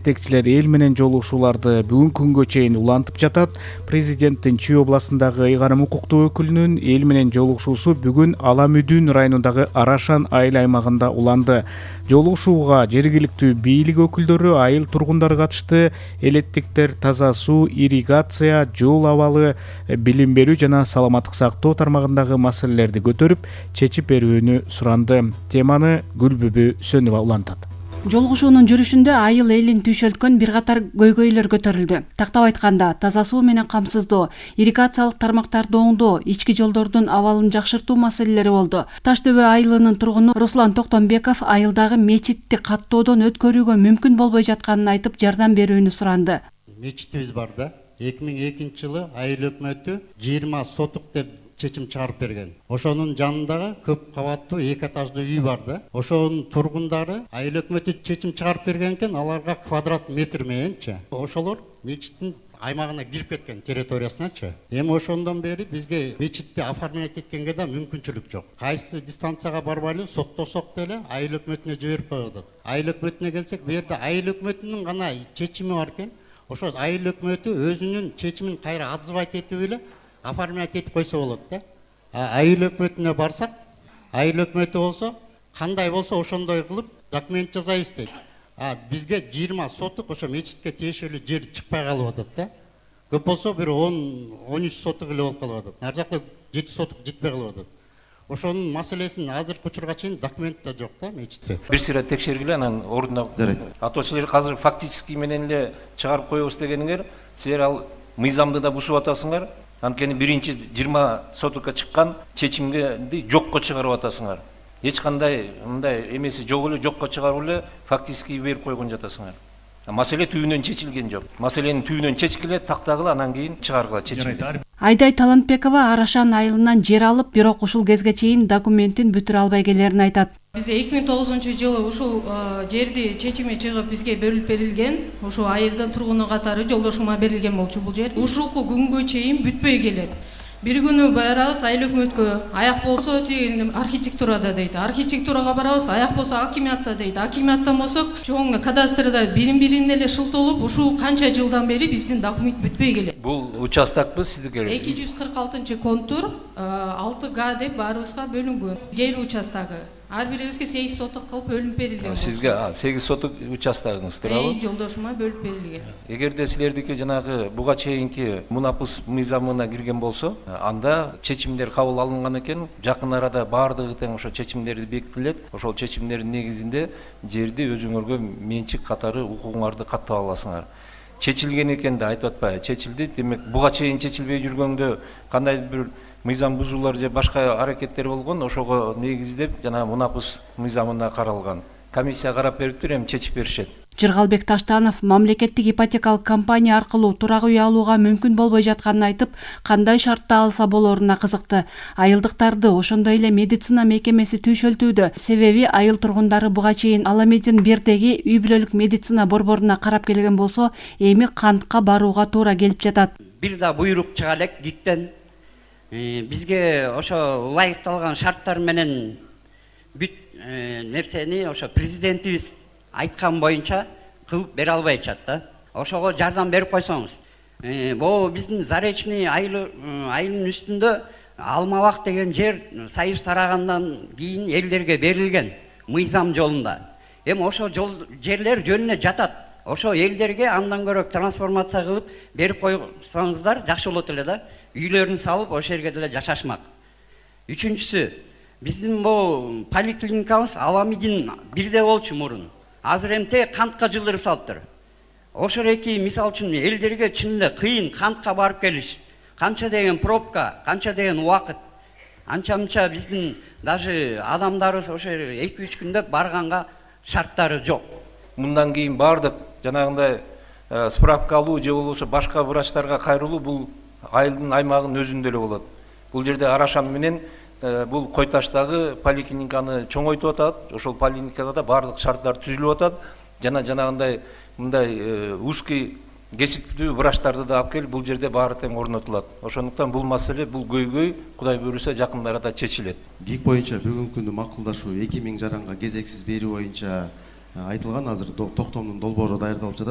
жетекчилер эл менен жолугушууларды бүгүнкү күнгө чейин улантып жатат. Президенттин Чүй областындагы ыйгарым укуктуу өкүлүнүн эл менен жолугушуусу бүгүн Ала Мүдүн районундагы Арашан айыл аймагында уланды. Жолугушууга жергиликтүү бийлик өкүлдөрү, айыл тургундары катышты. Элеттиктер, таза суу, ирригация, жол абалы, билим берүү жана саламаттык сактоо тармагындагы маселелерди көтөрүп, чечип берүүнү суранды. Теманы Гүлбүбү Сөнүва улантат. Жолугушуунун жүрүшүндө айыл элин түйшөлткөн бир катар көйгөйлөр көтөрүлдү. Тактап айтканда, таза суу менен камсыздоо, ирригациялык тармактарды оңдоо, ички жолдордун абалын жакшыртуу маселелери болду. Таш дөбө айылынын тургуну Руслан Токтомбеков айылдагы мечитти каттоодон өткөрүүгө мүмкүн болбой жатканын айтып, жардам берүүнү суранды. Мечитибиз бар да. 2002 жылы айыл өкмөтү 20 сотук деп чечим чыгарып берген. Ошонун жанындагы көп кабаттуу 2 этаждуу үй бар да. Ошонун тургундары айыл өкмөтү чечим чыгарып берген экен, аларга квадрат метр мененчи. Ошолор мечиттин аймагына кирип кеткен, территориясыначы. Эми ошондон бери бизге мечитти оформлять эткенге да мүмкүнчүлүк жок. Кайсы дистанцияга барбайлы соттосок деле айыл өкмөтүнө жиберип коет. Айыл өкмөтүнө келсек, бу жерде айыл өкмөтүнүн гана чечими бар экен. Ошо айыл өкмөтү өзүнүн чечимин кайра отзывать этип эле оформлять этип койсо болот да. Айыл өкмөтүнө барсак, айыл өкмөтү болсо кандай болсо ошондой кылып документ жасайбыз дейт. Бизге 20 сотук ошо мечитке тиешелүү жер чыкпай калып атат да. Көп болсо бир 10-13 сотук эле болуп калып атат. Нар жакта 7 сотук жетпей калып атат. Ошонун маселесин азыркы учурга чейин документте жок да мечитте. Бир сыйра текшергиле, анан ордуна ато силер азыр фактически менен эле чыгарып коебуз дегениңер, силер ал мыйзамды да бузуп атасыңар. Анткени биринчи 20 сотукка чыккан чечимди жокко чыгарып атасыңар. Эч кандай мындай эмеси жок эле, жокко чыгарып эле фактически берип койгон жатасыңар. Маселе түбүнөн чечилген жок. Маселени түбүнөн чечкиле, тактагыла, анан кийин чыгаргыла чечимди. Айдай Талантбекова Арашан айылынан жер алып, бирок ушул кезге чейин документин бүтүрө албай келерин айтат. Биз 2009-жылы ушул жерди чечими чыгып бизге бөлүп берилген. Ушул айылдын тургуну катары жолдошума берилген болчу бул жер. Ушулку күнгө чейин бүтпөй келет. Бир күнү барабыз айыл өкмөткө, аяк болсо тиги архитектурада дейт. Архитектурага барабыз, аяк болсо акимиатта дейт. Акимиаттан болсок, чоң кадастрда бирин-бирин эле шылтоолуп, ушул канча жылдан бери биздин документ бүтпөй келет. Бул участокпу сиздики? 246-контур 6Г деп баарыбызга бөлүнгөн. Жер участогу. Ар бирибизге 8 сотук кылып бөлүнүп берилген. Сизге 8 сотук участогуңуз туурабы? Жолдошума бөлүп берилген. Эгерде силердики жанагы буга чейинки мунапыс мыйзамына кирген болсо, анда чечимдер кабыл алынган экен. Жакын арада баардыгы тең ошо чечимдерди бекитилет. Ошол чечимдердин негизинде жерди өзүңөргө менчик катары укугуңарды каттап аласыңар. Чечилген экен да айтып атпайбы? Чечилди. Демек, буга чейин чечилбей жүргөндө кандай бир мыйзам бузуулар же башка аракеттер болгон, ошого негиздеп жана мунапыс мыйзамына каралган. Комиссия карап бериптир, эми чечип беришет. Жыргалбек Таштанов мамлекеттик ипотекалык компания аркылуу турак үй алууга мүмкүн болбой жатканын айтып, кандай шартта алса болоруна кызыкты. Айылдыктарды ошондой эле медицина мекемеси түйшөлтүүдө. Себеби айыл тургундары буга чейин Ала Медин 1-деги үй бүлөлүк медицина борборуна карап келген болсо, эми кантка барууга туура келип жатат. Бир да буйрук чыга элек ГИКтен. Бизге ошо ылайыкталган шарттар менен бүт нерсени ошо президентибиз айткан боюнча кылып бере албайчат да. Ошого жардам берип койсоңуз. Бул биздин Заречный айылынын үстүндө Алмабак деген жер Союз тарагандан кийин элдерге берилген мыйзам жолунда. Эми ошо жерлер жөнүнө жатат. Ошо элдерге андан көрө трансформация кылып берип койсоңуздар жакшы болот эле да. Үйлөрүн салып ошол жерге деле жашашмак. Үчүнчүсү, биздин бул поликлиникабыз Ала Медин 1-де болчу мурун. Азыр эмте кантка жылдырып салыптыр. Ошол эки мисал үчүн элдерге чын эле кыйын кантка барып келиш. Канча деген пробка, канча деген убакыт. Анча-мынча биздин даже адамдарыбыз ошо 2-3 күндө барганга шарттары жок. Мындан кийин бардык жанагындай справка алуу же болбосо башка врачтарга кайрылуу бул айылдын аймагынын өзүндө эле болот. Бул жерде Арашан менен бул Кой Таштагы поликлиниканы чоңойтуп атат. Ошол поликлиникада да бардык шарттар түзүлүп атат. Жана жанагындай мындай узкий кесиптүү врачтарды да алып келип бул жерде баары тең орнотулат. Ошондуктан бул маселе, бул көйгөй Кудай буйруса жакын арада чечилет. ГИК боюнча бүгүнкү күндө макулдашуу 2000 жаранга кезексиз берүү боюнча айтылган. Азыр токтомдун долбоору даярдалып жатат.